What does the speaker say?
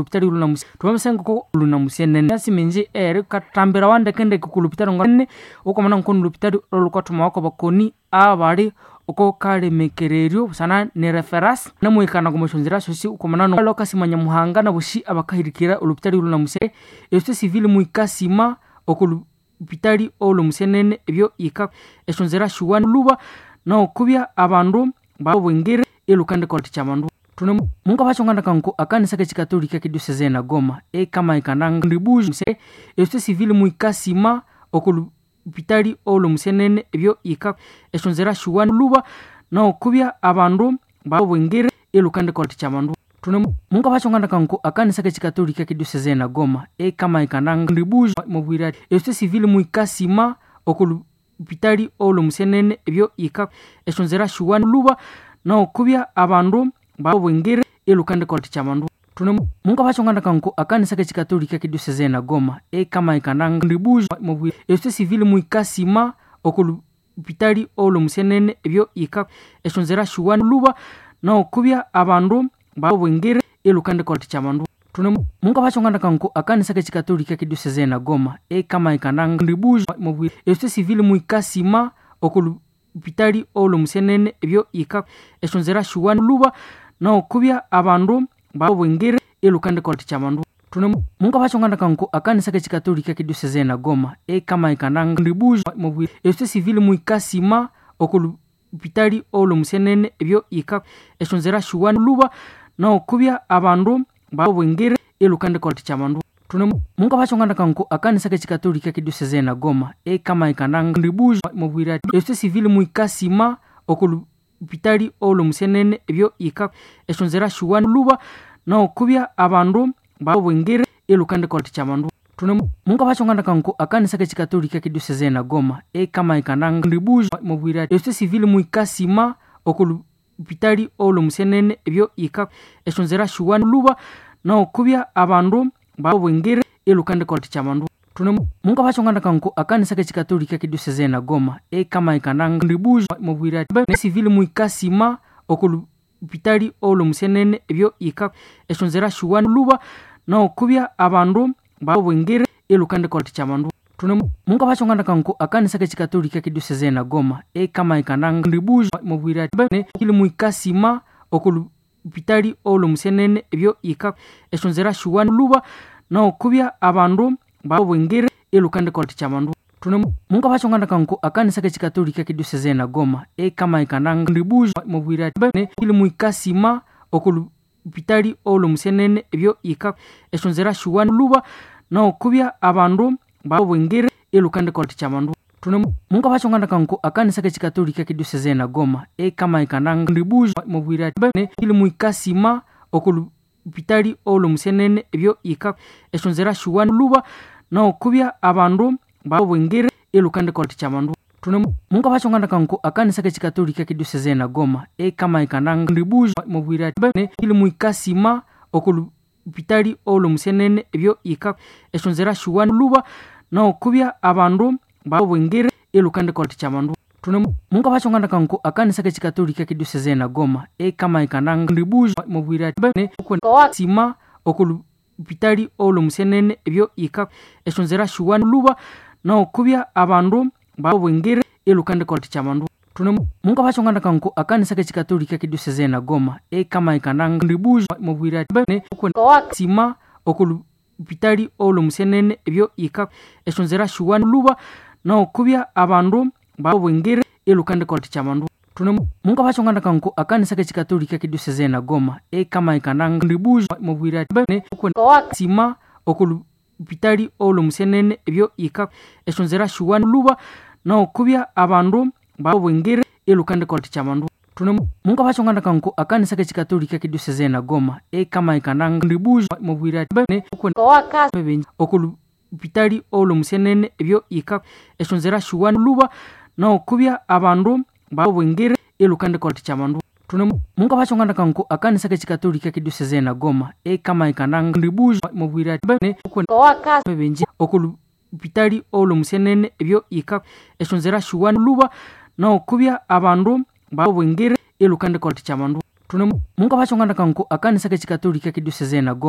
Lupitali lunamusi twamasenga lunamusenene asiminji eri katambira wandekendeke ku lupitali ngane ukomana nkono lupitali olukathumawa bakoni abali oko kalemekereryo busana ne reference namuhikana omusyonzira syosi ukomana lokasima Nyamuhanga nabosi abakahirikira olupitali olunamuse esyo civil muhikasima oko lupitali olumusenene ebyo yika esyonzira syowa luba nokubya abandu babwingire ilhukandikolha abandu thune mungabachongana nko akanisa kechikatolika kediosese na Goma ekamahikana ndibuji se esyo civil muhikasima oko lupitali olumusenene ebyo yika esyonzira syowa luba nokubya abandu babwingire ilhukandikolha abandu thune mungabachongana nko akanisa kechikatolika kediosese na Goma ekamahikana ndibuji mubwira esyo civil muhikasima oko lupitali olumusenene ebyo yika esyonzira syowa luba nokubya abandu babwingire ilhukandikolha abandu thune mungabachongana nko akanisa kechikatolika kediosese na Goma ekamahikana ndibuji mubwira esyo civil muhikasima oko lupitali olumusenene ebyo yika esyonzira syowa luba nokubya abandu babwingire ilhukandikolha abandu thune mungabachongana nko akanisa kechikatolika kediosese na Goma ekamahikana ndibuji mubwira esyo civil muhikasima oko lupitali olumusenene ebyo yika esyonzira syowa luba nokubya abandu babwingire ilhukandikolha abandu thune mungabachongana nko akanisa kechikatolika kediosese na Goma ekamahikana ndibuji mubwira esyo civil muhikasima oko lupitali olumusenene ebyo yika esyonzira syowa luba nokubya abandu babwingire ilhukandikolha abandu thune mungabachongana nko akanisa kechikatolika kediosese na Goma ekamahikana ndibuji mubwira esyo civil muhikasima oko lupitali olumusenene ebyo yika esyonzira syowa luba nokubya abandu babwingire ilhukandikolha abandu thune mungabachongana nko akanisa kechikatolika kediosese na Goma ekamahikana ndibuji mubwira esyo civil muhikasima oko lupitali olumusenene ebyo yika esyonzira syowa luba nokubya abandu babwingire ilhukandikolha abandu thune mungabachongana nko akanisa kechikatolika kediosese na Goma ekamahikana ndibuji mubwira civil muhikasima oko lupitali olumusenene ebyo yika esyonzira syowa luba nokubya abandu babwingire ilhukandikolha abandu thune mungabachongana nko akanisa kechikatolika kediosese na Goma ekamahikana ndibuji mubwira muhikasima oko lupitali olumusenene ebyo yika esyonzira syowa luba nokubya abandu babwingire ilhukandikolha abandu thune mungabachongana nko akanisa kechikatolika kediosese na Goma ekamahikana ndibuji mubwira muhikasima oko lupitali olumusenene ebyo yika esyonzira syowa luba nokubya abandu babwingire ilhukandikolha abandu thune mungabachongana nko akanisa kechikatolika kediosese na Goma ekamahikana ndibuji mubwira muhikasima oko lupitali olumusenene ebyo yika esyonzira syowa luba nokubya abandu babwingire ilhukandikolha abandu thune mungabachongana nko akanisa kechikatolika kediosese na Goma ekamahikana ndibuji mubwira muhikasima oko lupitali olumusenene ebyo yika esyonzira syowa luba nokubya abandu babwingire ilhukandikolha abandu thune mungabachongana nko akanisa kechikatolika kediosese na Goma ekamahikana ndibuji mubwira sima oko lupitali olumusenene ebyo yika esyonzira syowa luba nokubya abandu babwingire ilhukandikolha abandu thune mungabachongana nko akanisa kechikatolika kediosese na Goma ekamahikana ndibuji mubwira sima oko lupitali olumusenene ebyo yika esyonzira syowa luba nokubya abandu babwingire ilhukandikolha abandu thune mungabachongana nko akanisa kechikatolika kediosese na Goma ekamahikana ndibuji mubwira sima oko lupitali olumusenene ebyo yika esyonzira syowa luba nokubya abandu babwingire ilhukandikolha abandu thune mungabachongana nko akanisa kechikatolika kediosese na Goma ekamahikana ndibuji mubwira oko lupitali olumusenene ebyo yika esyonzira syowa luba nokubya abandu babwingire ilhukandikolha abandu thune mungabachongana nko akanisa kechikatolika kediosese na Goma ekamahikana ndibuji mubwira oko lupitali olumusenene ebyo yika esyonzira syowa luba nokubya abandu babwingire ilhukandikolha abandu thune mungabachongana nko akanisa kechikatolika kediosese na Goma.